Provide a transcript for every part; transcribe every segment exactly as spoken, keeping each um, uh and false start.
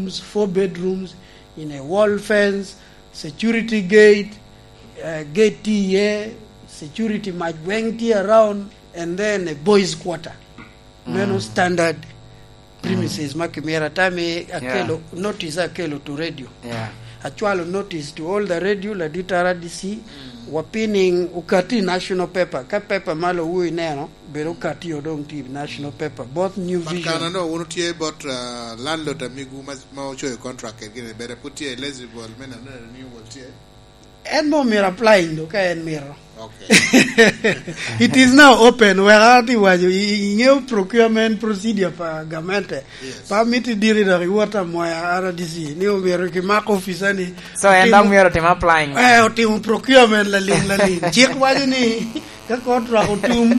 rooms, four bedrooms, in a wall fence, security gate, uh, gate tye iye, security mac weng tye around, and then a boys quarter. Meno standard premises ma kimito. Atami akelo notice, akelo to radio. Yeah. Acwalo notice to all the radio, ladit R D C, wapinning okati national paper. Ka paper malo wu ineno, bedo okati odong ti national paper. Both New But Vision. Kanano, wun tye bot, uh, landlord amigu ma, ma ocoyo contract kedgi ni, bere put tye eligible me neno ni renewal tye? En mo myero applying do ka en mito. Okay. It is now open. Wek ati waco, i, i, ingeyo procurement procedure pa gamente. Yes. Pa miti diri dok iwot amoya R D C. Ni omyero kimak officer ni. So, en dok myero otim applying. Eh, otimo procurement laling, laling. Chik waco ni ka contract otum,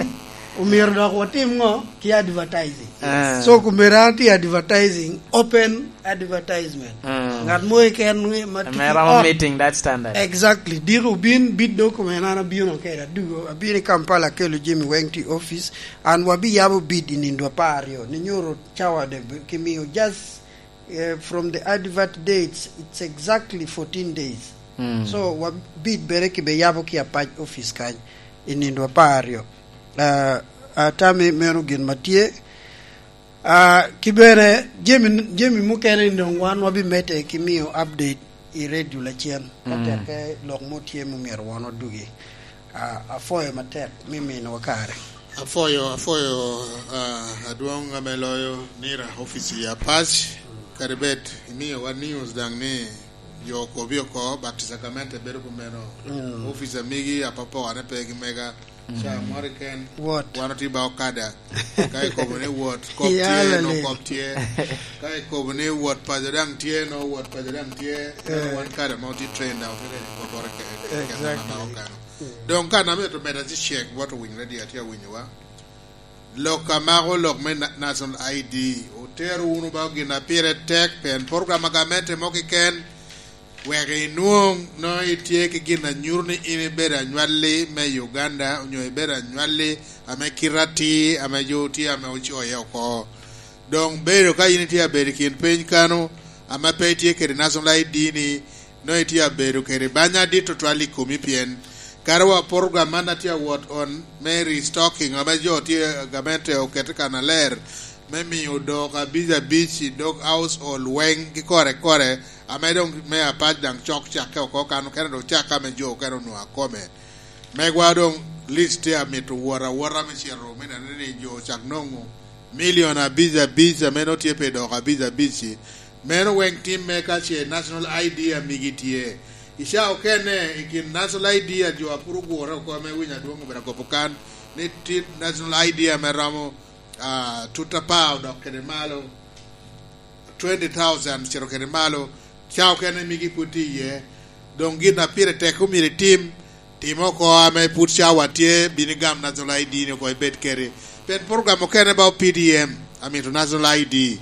omyero dok watim ngo? Ki advertising. Ah. So, kumera ti advertising, open advertisement. Mm. Ngat mo keken ma tye Ame romo ot. Meeting that standard. Exactly. Diko bin bid do kuma en an abino kede adugo, abino i Kampala akelo jami weng ti office. An wabiyabo bid i nindo apar aryo. Ni nyoro cawa de bi-, kimiyo just, eh, from the advert dates, it's exactly fourteen days. Mm. So, wabid bere kibe yabo ki apac office kany i nindo apar aryo. Ah, atami meno gin ma tye. Ah, ki bene, jami, jami mukene doŋ wan wabimedde ki miyo update i radio lacen. Ka Mm. tekke lok mo tye ma myero wan odugi. Ah, apwoyo matek me minowa kare. Apwoyo, apwoyo, ah, adwoŋ ame loyo Nira office i Apac, kadi bed imiyowa news daŋ ni jo okobi oko, but sacrament bedo kumeno. Mm. Office amigi apapokane pe gi mega. Ca moro keken, Wot. Wan otye ba okada. Ka ikobo ni wot, kop tye, no kop tye. Ka ikobo ni wot paco daŋ tye, no wot paco daŋ tye. Eh. Wan kada ma otye train daŋ, otye ka koboro ke-, ke-, ke-, Exactly. ma okano. Mm. Doŋ ka na mito meda ci cek, wot owiny radio, atye awinyowa. Lok a mako lok me na-, National I D, otero wunu ba gin a pire tek, pien program a gamente mo keken, wek inwoŋ nongo itye ki gin a nyuto ni in ibedo anywalli me Uganda, onyo ibedo anywalli ame kite atir, ame jo tye ame ocoye oko. Doŋ bedo ka in itye abedo i kin piny kano, ame pe itye kede National I D ni, nongo itye abedo kede banya adit tutwal i komi, pien kara wa program man atye awot on me restocking, ame jo tye, gamente okete kannaler, me miyo dok abic abic i dog household weng ki kore kore, ame doŋ me apac daŋ cok cakke oko kan okene doŋ cak ame jo okene onwoŋo akome. Megwa doŋ list tye amito wot awota me cito me neno ni jo ocak nwoŋo milion abic abic ame nongo tye pe dok abic abic-ci. Meno weng timme ka ce National I D amigi tye. I ca okene, i kin National I D a jo a pwod ogure oko ame winyo adwoŋ obedo akobo kan, ni tye National I D ame romo, ah, tut apar odok kede malo, twenty thousand cito kede malo, ca okene migi pwod tye iye. Doŋ gin a pire tek omyero itim, tim oko ame pwod cawa tye, bin igam National I D ni oko ibed kede. Pien program okene ba P D M, amito National I D.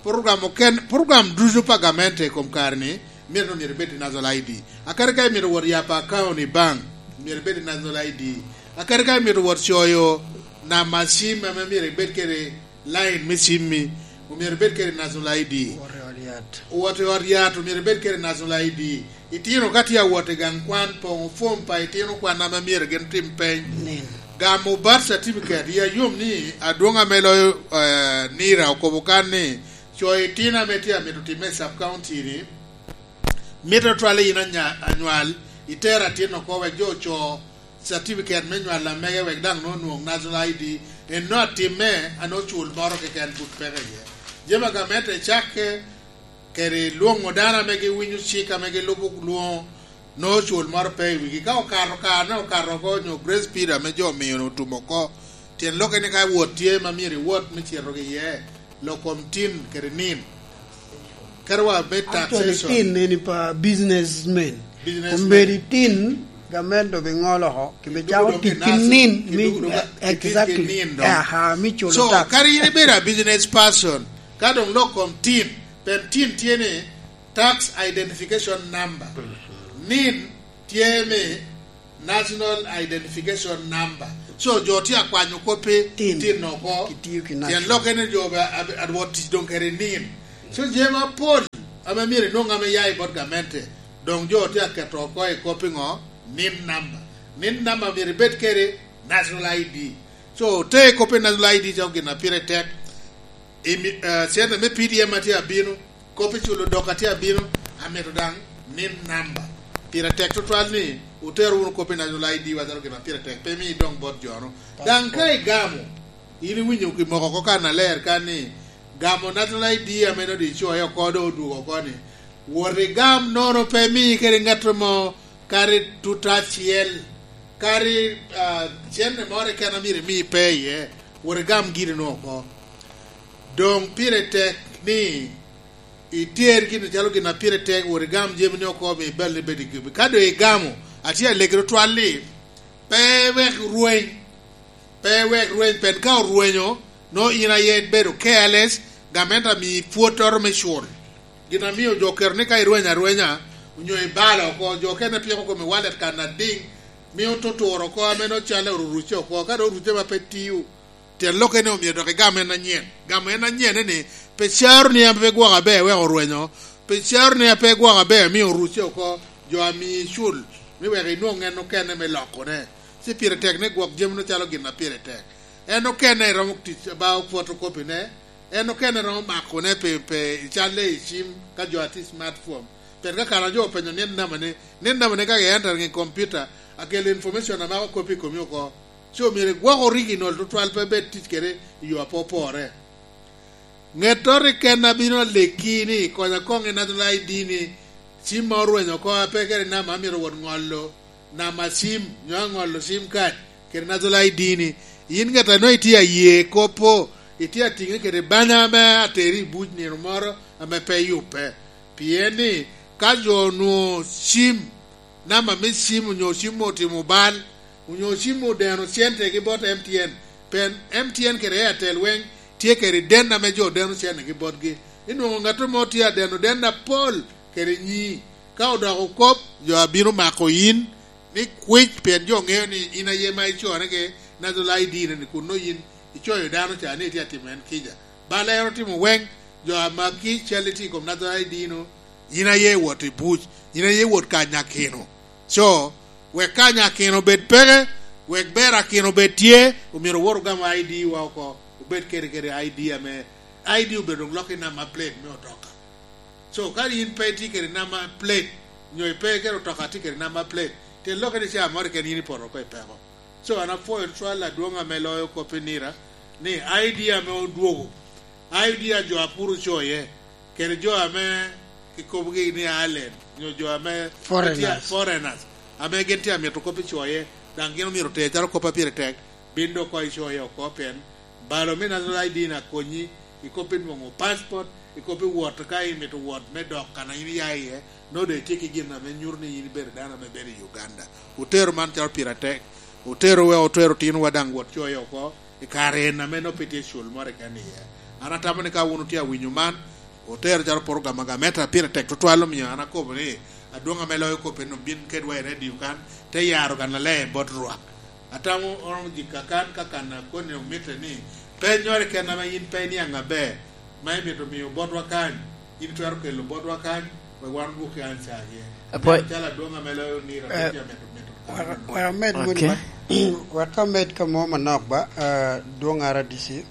Program oken-, program ducu pa gamente i kom kare-ni, myero, myero ibed i National I D. Akadi ka imito wot yabo account i bank, myero ibed i National I D. Akadi ka imito wot coyo namba cim ame myero ibed kede line me cimmi, omyero ibed kede National I D. Wot i ot yat. Wot i ot yat, omyero ibed kede National I D. Itino ka tye awot i gang kwan, poŋo fom pa itino kwan ame myero gin otim peny. Nen. Gamo birth certificate, ya yom ni adwoŋ ame loyo, eh, Nira okobo kan ni, co itino ame tye amito timme i sub county ni, mito twale in anya-, anywal, itero atin oko wek jo oco certificate me nywal amege wek daŋ nongo onwoŋ National I D, en nongo atimme, a nongo cul moro keken pwod peke iye. Jami a gamente cakke kede lwoŋo dano ame giwinyo cik ame gilubo lwoŋo, nongo cul moro pe i wigi. Ka okato kare, nongo okato oko, nyo grace period ame jo omio ni otum oko, tyen lokke ni ka wot tye ma myero iwot me cito ki iye, lok kom tin kede nin. Kadi wa me Actually, taxation. Tin eni pa businessmen. Businessmen. Kombedi tin, gamente obiŋolo oko, kibe Kidugo cako dong tic ki ki nursing, nin, mi, kidugo dong ki, ki, ki exactly. Nin dong. Aha, mi culo So, tax. Kadi in ibedo a business person, ka dong lok kom tin, pien tin tye ni tax identification number. Nin tye me National Identification Number. So, jo tye akwanyo koppi Tin. Tin oko. Kitio ki Tyen national. Lok en ni jo be, a, a, adwot tic dong kede nin. So, jami apol ame myero inwoŋ ame ya i bot gamente, doŋ jo tye aketo oko i kop iŋo? Nin namba. Nin namba myero ibed kede National I D. So, te i kop i National I D calo gin a pire tek, imi-, eh, cente me P D M a tye abino, kop i culo dok a tye abino, amito daŋ nin namba. Pire tek tutwal ni wutero wunu kop i National I D wa calo gin a pire tek, pe mi idoŋ bot jo-nu. Daŋ ka igamo, in iwinyo kimoko oko kannaler kan ni gamo National I D ame nodi icoyo oko, doŋ odwogo oko ni, wot igam nono pe mi kede ŋat mo, kadi tuta acel, kadi, ah, cente moro keken a myero imi pe iye, wot igam gin-nu oko. Doŋ pire tek ni iter gin calo gin a pire tek, wot igam jami-ni oko, mi bal ni bed i gibi. Ka doŋ igamo, atye alegi tutwal ni, pe wek rweny, pe wek rweny, pien ka orwenyo, nwoŋo in aye ibedo careless, gamente ami pwottoro me cul. Gin amio jo oketo ni ka irwenyo arwenya, onyo ibalo oko, jo okene piko kome wallet kan adiŋ, mio tuturo oko, ame nwoŋo calle oruruce oko, ka doŋ oruce ma pe tio. Tyen lokke ni omyero dok igam en anyen. Gamo en anyen ni, pe caro ni ape gwok aber wek orwenyo, pe caro ni ape gwok aber amio oruce oko, jo ami icul, ni wek inwoŋ en okene me lokone. Ci pire tek ni gwok jami-nu calo gin a pire tek. En okene romo tic ba opwotokopine, en okene romo makone pe, pe icalle i cim ka jo a tye i smartphone. Pien ka kara jo openyo nin namba ni, nin namba ni ka i entering i computer, akelo information a mako kopi i komi oko. So myero igwok original tutwal pe bed tic kede i yo a pe opore. Ŋettoro keken a bino aleki ni konya koŋ i National I D ni, cim ma orwenyo oko a pe kede namba amito wot ŋolo, namba cim, nyo aŋolo cim kad, kede National I D ni. In ŋet a nwoŋo itye aye kop-po, itye atiŋe kede banya ame ateri i buc nino moro ame pe yubbe. Pien ni, ka jo onwoŋo cim, namba me cim onyo cim otimo bal, onyo cim odeno cente gi bot M T N, pien M T N kede Airtel weŋ tye kede den ame jo deno cente gi botgi. Inwoŋo ŋat mo tye adeno den apol kede nyii. Ka odoko kop, jo abino mako in ni kwic, pien jo ŋeo ni in aye ma icore ki National I D ni, kun nwoŋo in icoyo dano ca ni itye atimo en kica. Bal en otimo weŋ, jo a maki cal itye i kom National I D nu, in aye iwot i buc, in aye iwot kanyakino. So, wek kanyakino obed peke, wek berakino obed tye, omyero owot ogam I D wa oko, obed kede, kede I D ame, I D obedo doŋ lok i namba plate me otoka. So, ka in pe itye kede namba plate, nyo ipe kede otoka tye kede namba plate, tyen lokke ni ca moro keken in ipoto oko i peko. So, an apwoyo tutwal adwoŋ ame loyo kop i nira, ni I D ame odwogo, I D a jo a pur ocoye, kede jo ame kikobogi ni Ireland, nyo jo ame Foreigners. Foreigners, ame gin tye amito kop i coye, daŋ gin omyero oter calo kop a pire tek, bin dok oko icoye oko, pien balo me National I D ni akonyi i kop i nwoŋo passport, i kop i wot ka imito wot me dok kan a in iya iye, nongo doŋ itye ki gin ame nyuto ni in ibedo dano ame bedo i Uganda. Otero man calo pire atek, otero wek otero otinowa daŋ wot coye oko i kare en ame nongo pe tye cul moro keken iye. An atamo ni ka wun otye awinyo man, otero calo program a gamente a pire tek tutwal, omio an akobo ni adwoŋ ame loyo kop en obin kedwa i redio kan, te yaro kan aler bot Rwak. Atamo oromo jika kan ka kan a koni omitte ni, pennyoro keken ame in pe iniaŋ aber, ma imito miyo botwa kany, in itwero kelo botwa kany, wek wan odwokki anca iye. Apwoyo. Nen calo adwoŋ ame loyo nira, eh, pe tye amito, mito kany. Wek, wek amed moni. Okay. Ba, wek amed ka mo manok ba, eh, dwoŋ R D C.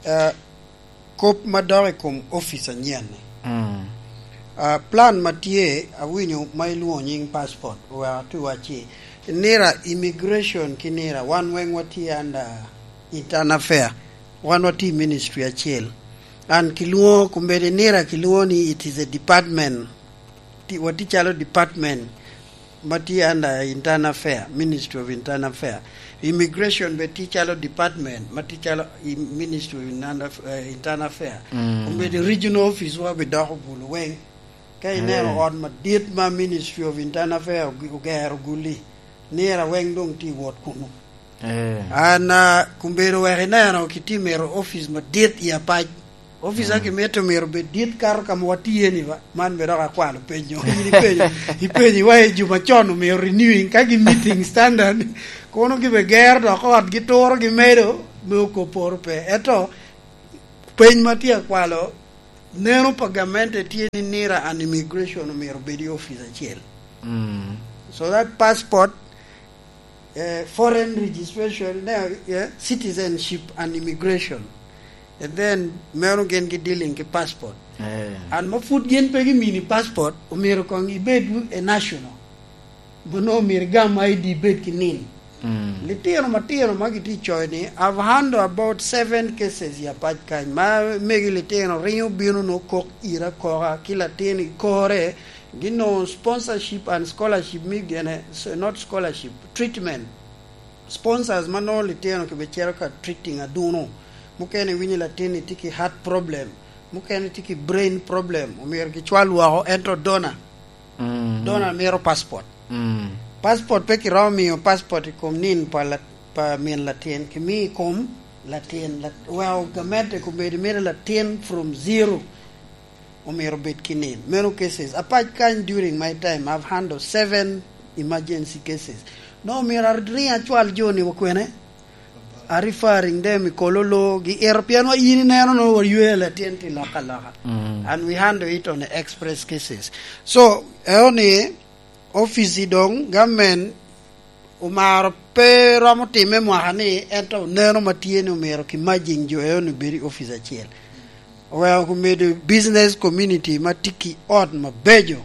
Eh, kop ma dok i kom opic anyen-ni. Mm. Ah, plan ma tye, awinyo ma ilwoŋo nyiŋ passport, oweko atu wacci, nira immigration ki nira, wan weŋ watye under internal affair, wan watye i ministry acel. An kilwoŋo, kombeddi nira kilwoŋo ni it is a department, ti-, watye calo department ma tye under Internal Affair, Ministry of Internal Affair. Immigration be tye calo department ma tye calo i Ministry of Internal Aff-, eh, Internal Affair. Mm. Obedo regional office wa be doko Gulu weŋ. Ka ineno, eh, ot madit ma Ministry of Internal Affair oge-, ogero Gulu-li, nira weŋ doŋ tye i wot kunu. Eh. An, ah, kombeddi wek ineno kitye mito office madit i Apac. Office, mm, a kimito myero obed dit kato ka ma watye-ni ba. Man bene dok akwalo penyo. In ipenyo, ipenyo wa i juma con omyero renewing ka gi meeting standard. Kono gibe gero dok ot gituro gimedo me okoporo pe. Ento peny ma tye akwalo, Neno pa gamente tye ni NIRA and Immigration omyero obed i office acel. Mm. So that passport, eh, foreign registration, ne, eh, citizenship and immigration. And then meno gin gi dealing ki passport. Eh. And ma pud gin pe gimini passport, omyero kong ibed a national. Mano omyero igam I D ibed ki nin. Mm. Litino matino ma gitye i coc ni, I've handled about seven cases i apac kany. Ma megi litino ringo bino no kok ira koka, ki latin i kore, gin no sponsorship and scholarship me gene, so not scholarship, treatment. Sponsors ma nongo litino kibicito ka treating aduno. Mukene iwinyo latin ni tye ki heart problem, mukene tye ki brain problem, omyero gicwal woko, ento donor. Mm. Donor mito passport. Mm. Passport pe kiromo miyo passport i kom nin pa la-, pa min latin, kimi i kom latin, lat-, weko gamente komedi mito latin from zero. Omyero obed ki nin. Meno cases. Apac kany, during my time, I've handled seven emergency cases. No, omyero aring acwal jo ni okwene? A referring them i Kololo, gi ero, pien wa in ineno no, wa ywe latin ti loka loka. Mm. And we handle it on express cases. So, eo ni, office i dong, government omaro pe romo timme mwaka ni, ento neno ma tye ni omyero ki merging jo eo ni bedo i office acel. Oweko omedo business community ma tye ki ot mabeco.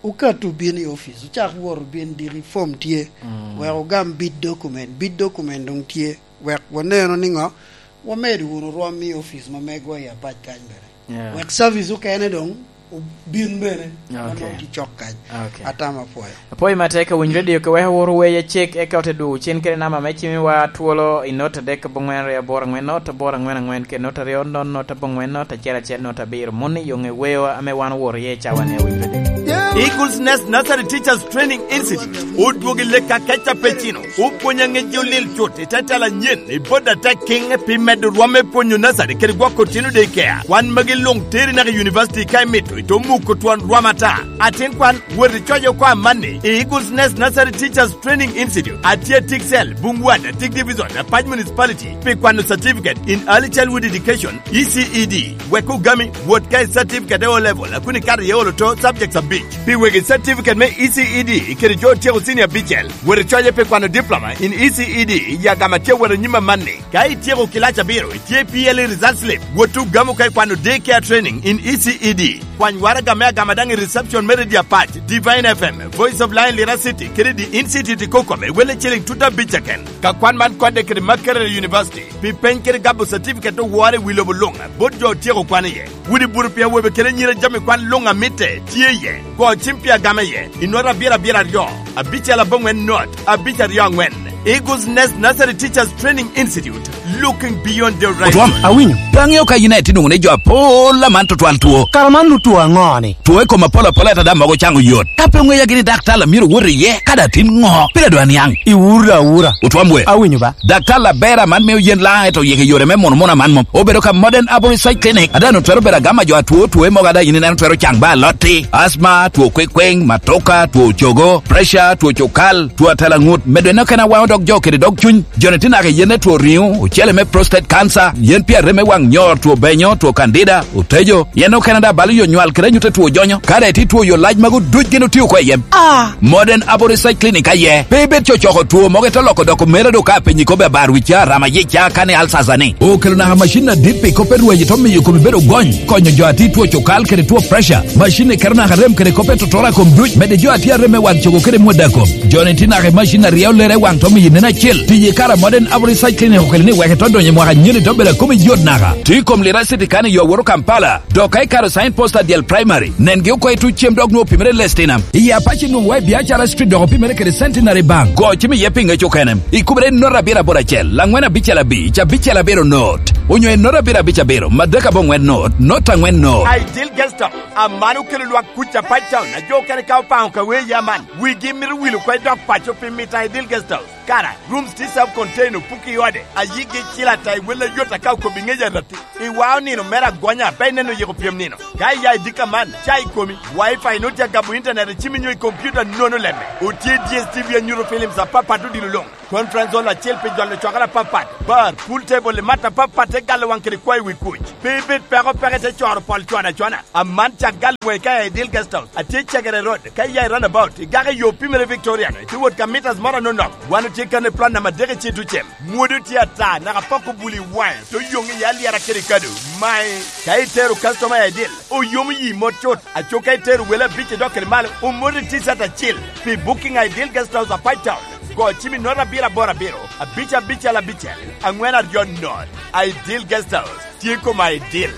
Okat obin i office, ocak wot obin diki, form tye. Mm. Wek ogam bid document, bid document dong tye. Wek waneno ni ngo, wamedo wunu rwom i office ma megwa i apac kany bene. Yeah. Wek service okene dong obin bene, ma Okay. nongo tye cok kany. Okay. Atamo apwoyo. Apwoyo matek, awinyo radio ke wek awor weye cek, eka ote dwogo cen kede namba me cimiwa twolo i not adek abongwen aryo aboro angwen not aboro angwen angwen, kede not aryo not not abongwen not acel acel not abiro. Moni yo ŋe weyo ame wan owor iye i cawa ni, awinyo radio. Eagles Nest Nursery Teachers Training Institute odwogo i lek akeca pe cino. Opwony aŋec jo lil cut i te tela anyen i bot atek kiŋ pi medo rwom me pwonyo nursery kede gwoko tino daycare. Kwan magi luŋ teri naka i university ka imito, ito muko twon rwom ata. Atin kwan, wot icoc oko amanni i Eagles Nest Nursery Teachers Training Institute, atye i Tiksel, Bungwada, Tik Division, Apac Municipality, pi kwano certificate in early childhood education, E C E D. Wek ogami, wot ka i certificate e O level, a kun ikato iye olo to subjects abic. Pi wegi certificate me E C E D kede jo otyeko senior abicel, wot icoye pi kwano diploma in E C E D i agama tye wot anyim amanni. Ka ityeko kilac abiro, itye i P L E result slip, wot ogamo ka ikwano day care training in E C E D. Kwany waraga me agama daŋ i reception me Radio Apac, Divine F M, Voice of Lion Lira City, kede The Institute i Kokome, wele ciling tut abic keken. Ka kwan man kodde kede Makerere University, pi peny kede gabo certificate owore i wi lobo luŋ, bot jo otyeko kwan iye. Wot i buto pi awobe kede anyira jami kwan luŋ a mitte tye iye. Go cim pi agama iye, i not abiro abiro aryo, abicel aboŋwen not, abic aryo aŋwen. Eagles Nest Nursery Teachers Training Institute, looking beyond the horizon. Otwom, awinyo. Pe aŋeo ka in aye tye nwoŋo ni jo apol aman tutwal two. Kara man nut two aŋo ni? Two i kom apol apol ata daŋ mogo caŋo yot. Ka pe oŋeya gini daktar a myero wot iye, ka daŋ tin ŋo? Pire dwa niaŋ. Iwura awura. Otwom we. Awinyo ba. Daktar Labera man mio yen laŋ eto yeke yore me mono mono aman mom. Obedo ka Modern Herbal Research Clinic, a daŋ otwero bedo agama jo atwo two mogo a daŋ in ineno twero caŋ ba alotti, asma, two kwekweng, matoka, two cogo, pressure, two cukal, two atalaŋut, medo en okene awaŋo dog jo kede dog cuny. Joni tye naka i yen me two riŋo, ocele me prostate cancer, yen pi arem me waŋ nyor, two benyo, two candida, otejo, yen okene daŋ balo yo nywal kede anyut a two jonyo. Ka daŋ itye two yo lac magu duc gin otio oko i yem. Ah! Modern Herbal Research Clinic aye. Pe ibed cocoko two mogo ito loko doko mera do ka penyi kobe abar wica, rama yica, kane alsasa ni. Okelo naka macin adit pi kop me rweny ito miyo komi bedo gony, konyo jo ati two cokal kede two pressure. Macin ni keto naka rem kede kop e totora kom duc, mede jo ati arem me waŋ cogo kede mwada kom. Joni ti naka i macin aryo lere waŋ to miyo nen acil. Tiye kara Modern Herbal Research Clinic okelo ni wek ito donyo i mwaka nyeni to bedo akomi yot naka. Ti kom Lira City kani yo woro Kampala. Dok ka ikaro sign post adyel primary, nengi oko i tuc cem dok nwoŋo pimere lestinam. I Apac inwoŋo wa i Biacara Street dok opimere kede Centenary Bank. Go cim iye pi ŋec okene. Ikubere i not abiro aboro acel, laŋwen abicel abic, abicel abiro not. Onyo i not abiro abic abiro, madek aboŋwen not, not aŋwen not. Ideal Guest House, aman okelo lwak kuc Apac Town, a jo okene ka opaŋo ka wee ya man. Wigi mito wilo kwe dok paco pi mita Ideal Guest House. Kara, rooms tye self-contained, opuko i ode, a yigi cil ata i wel ayot aka okobo i ŋec aratti. I wao nino mere agonya, pe ineno yiko pyem nino. Ka iya i dika man, ca i komi, Wi-Fi nut ya gabo internet i cimi nyo i computer nono lemme. Otye D S T V anyuto films apapat odilo luŋ. Conference hall acel pi jolo cwakere apapat, bar, pool table i mat apapat te galo waŋ kede kwayo wi kuc. Pe ibed peko peke te coro pol cwana cwana. Aman cak gal wei ka i Ideal Guest House. Atye Cegere Road, ka iya i roundabout, igako i yo Pimere Victorian, itye wot ka mitas moro anonok. Wan otye kan i plot namba adek i Citucem. Mwodo tye ata, naka pok obuli waŋe, te oyoŋ i alyera kede kado. Mae, ka itero customer i Ideal, oyomo yi mot cut. Aco ka itero wele abic i dok kede malo, omoti T-shirt acel. Pi booking i Ideal Guest House, Apac Town, go cim i note abiro aboro abiro, abic abicel abicel, aŋwen aryo note. Ideal Guest House, tye koma Ideal.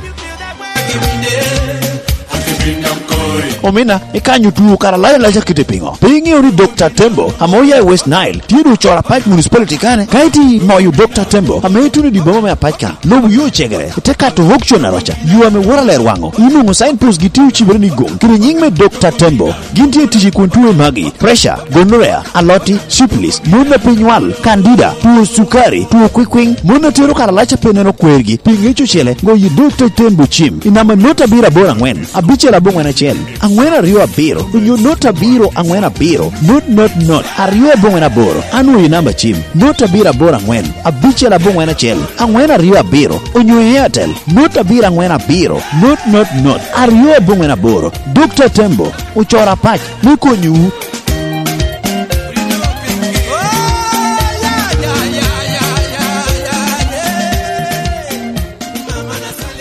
Omina, ikanyo tuo kara lac alac akite piŋo? Pe iŋeo ni Dokta Tembo, ame oya i West Nile, tye doŋ ocoro Apac Municipality kane? Ka itye moyo Dokta Tembo, ame ituno i dye boma me Apac ka, lubo yo Cegere, ite kato Hokcon Aroca, yo ame woto aler waŋo, inwoŋo signpost gi tye ocibere ni Gong, kede nyiŋ me Dokta Tembo. Gin tye tic i kun tuoe magi: preca, gonorrhea, aloti, syphilis, mon a pe nywal, candida, tuo cukari, tuo kwikwiŋ, mon a tero karalac a pe neno kwergi, pi ŋec ocele, goyo i dog tec ten bucim, i namba not abiro aboro aŋwen, abicel aboŋwen acel, aŋwen aryo abiro, onyo not abiro aŋwen abiro, not not not, aryo aboŋwen aboro, anwoyo i namba cim, not abiro aboro aŋwen, abicel aboŋwen acel, aŋwen aryo abiro, onyo i Airtel, not abiro aŋwen abiro, not not not, aryo aboŋwen aboro. Dokta Tembo ocoro Apac me konyowu.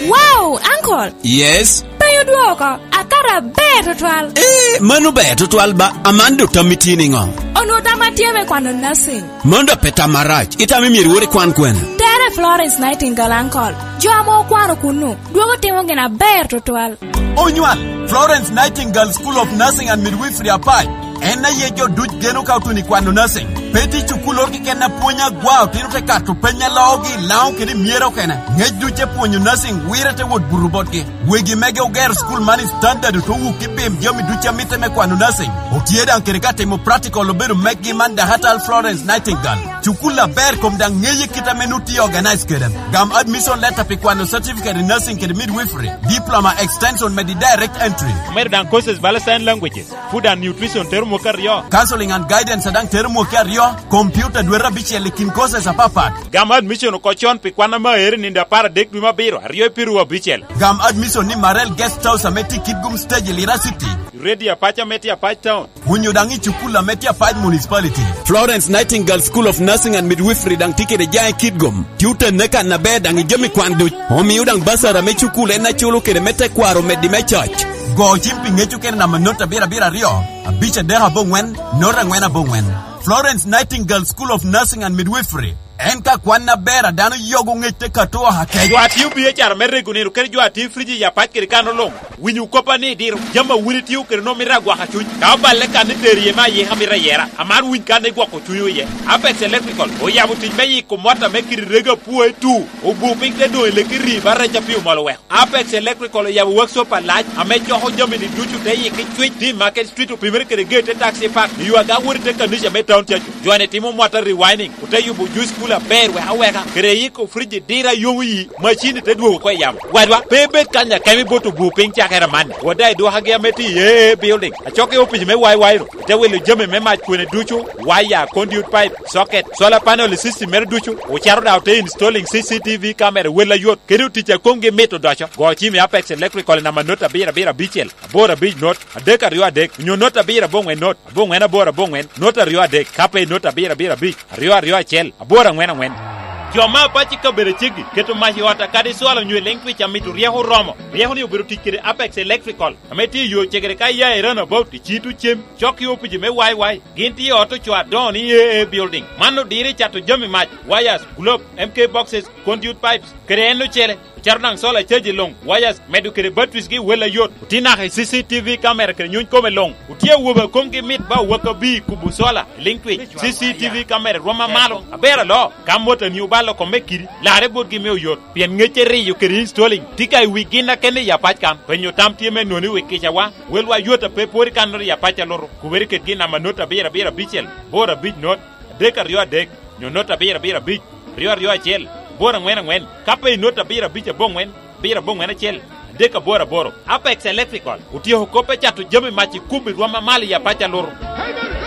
Wow, uncle! Yes? Penyo dwoko, akato aber tutwal. Eh, mano ber tutwal ba, aman dok tam itye niŋo? Onwoŋo tam atye me kwano nursing. Mano dok pe tam arac, itamo myero iwot ikwan kwene? Tere Florence Nightingale, uncle. Jo ame okwano kunnu, dwogo timo gin aber tutwal. Onywal, Florence Nightingale School of Nursing and Midwifery Apac. En aye jo duc geno ka otuno i kwano nursing. Pe tye cukulloro keken a pwonyo agwa, otino te kato peny a loogi, Laŋo kede i myero okene. Ŋec duc te pwonyo nursing, wire te wot buto botgi. Wegi mege ogero cukul man i standard, ote wuk i pim jami duc a mitte me kwano nursing. Otye daŋ kede ka timo practical obedo mekgi man Dakatal Florence Nightingale. Cukul aber kom daŋ ŋeye kit ame nu tye organize kede. Gam admission letter pi kwano certificate in nursing kede midwifery, diploma extension medi direct entry. Omedo daŋ courses bala sign languages, food and nutrition tero mwaka aryo. Counseling and guidance daŋ tero mwaka aryo, computer dwete abicel i kin courses apapat. Gam admission oko con pi kwan ame aero i nino apar adek dwe me abiro, aryo i piru abicel. Gam admission ni Marel Guest House ame tye i Kitgum Stage i Lira City. Radio Apac ame tye Apac Town. Onyo daŋ i cukul ame tye Apac Municipality. Florence Nightingale School of Nursing and Midwifery daŋ tye kede jaŋ i Kitgum. Tye otenne kan aber daŋ i jami kwan duc. Omio daŋ basari ame cukul en aculo kede me tekwaro omeddi me coc. Go cim pi ŋec okene namba not abiro abiro aryo, abic adek aboŋwen, not aŋwen aboŋwen. Florence Nightingale School of Nursing and Midwifery. En ka kwan aber a dano yogo ŋec te kato oha kec. Jo a tio biacara me rego nino kede jo a tio friji i Apac kede kan oloŋ. Winyo koppa ni diro jami a wun itio kede nwoŋo mito agwaka cuny. Ka oballe kan ni tero iye me ayika mito ayera, amaro winy kan igwoko cunywu iye. Apex Electrical oyabo tic me yiko mot ame kite rego apwoe tu, obu piny te doŋ i leki ri ba rec a pi omol oweko. Apex Electrical oyabo workshop alac ame coko jami-ni ducu te yik i Cwic, T Market Street, opimere kede gate te taxi park, i yo aga wot i te kanica me Town Church. Jo-ni timo mota rewinding, ote yubo juice cooler aber wek aweka, kede yiko fridge diro a yomo yi, macin-ni te dwogo oko i yamo. Wadwa, pe ibed kany akemo i bot obu piny cakere amanni. Wot daŋ i dwokagi ame tye i A A Building, acok i opic me Y Y ru, ote wilo jami me mac kwene ducu, waya, conduit pipe, socket, solar panel system mere ducu, ocito daŋ ote installing C C T V camera wel ayot, kede otic a komgi mit odoco. Go cim i Apex Electrical i namba not abiro abiro abicel, aboro abic not, adek aryo adek, onyo not abiro aboŋwen not, aboŋwen aboro aboŋwen, not aryo adek, ka pe i not abiro abiro abic, aryo aryo acel, aboro aŋwen aŋwen. Jo me Apac i kabedo aceggi keto mac i ot akadi cwalo onyo i Lengtwich amito ryeko oromo. Ryeko-ni obedo tic kede Apex Electrical, ame tye i yo cegere ka iya i roundabout i Cito Cem, cok i opici me Y Y. Gin tye i ot ocoo adoŋo ni A A Building. Man odiro i cato jami mac, wires, globe, M K boxes, conduit pipes, kede en ocele. Ocito daŋ solar charge luŋ, wires, medo kede batteries gi wel ayot. Otye naka i C C T V camera kede nyuny kome luŋ. Otye awobe a komgi mit ba owaka bi i kubo solar, Lengtwich, C C T V camera rwom amalo, aber aloo. Ka motani obalo kome kidi, larre botgi me oyot, pien ŋecce riyo kede installing tye ka i wi gin akene i Apac kan. Penyo tam tye me noni wi kicawa, welwa yot a pe pwod i kannoro i Apac alutu. Kubere kedgi i namba not abiro abiro abicel, boro abic not, adek aryo adek, nyo not abiro abiro abic, aryo aryo acel, boro aŋwen aŋwen, ka pe i not abiro abic aboŋwen, abiro aboŋwen acel, adek aboro aboro. Apex Electrical otyeko kop me cato jami mac i kubo i rwom amalo i Apac alutu.